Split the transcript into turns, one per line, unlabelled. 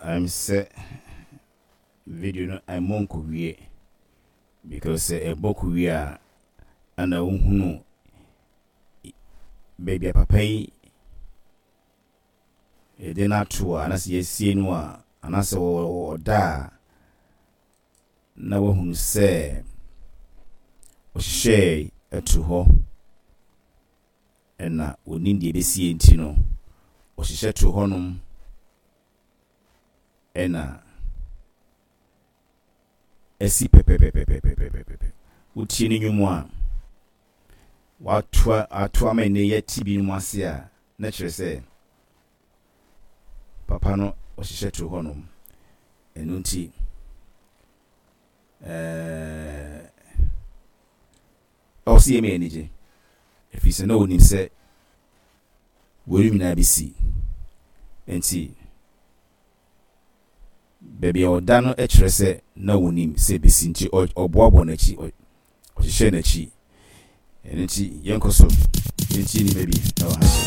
I'm sɛ video no ɛmmɔ nkɔwie because sɛ ɛbɔ kɔwie a ɛna wohunu baabi a papa yi yɛde no ato a anaasɛ yɛasie no a anaasɛ ɔda a na wahunu sɛ ɔhyehyɛɛ ɛto hɔ ɛna onim deɛ ɛbɛsie nti no ɔhyehyɛ to hɔnom ɛna asi pɛpɛpɛpɛpɛpɛpɛ. Wotie ne nnwom a watoa ato ama nnɛ yɛte binom ase a, na kyerɛ sɛ papa no ɔhyehyɛ to hɔnom. Ɛno nti ɛɛ ɛwɔ sɛ yɛma yɛn ani gye, ɛfiri sɛ na ɔnim sɛ weinom nyinaa bɛsi. Nti baabi a ɔda no kyerɛ sɛ na ɔnim sɛ ɛbɛsi nti ɔboaboa n'akyi, ɔhyehyɛ n'akyi. Ɛno nti yɛnkɔ so yɛntie nneɛma bi wɔ ha.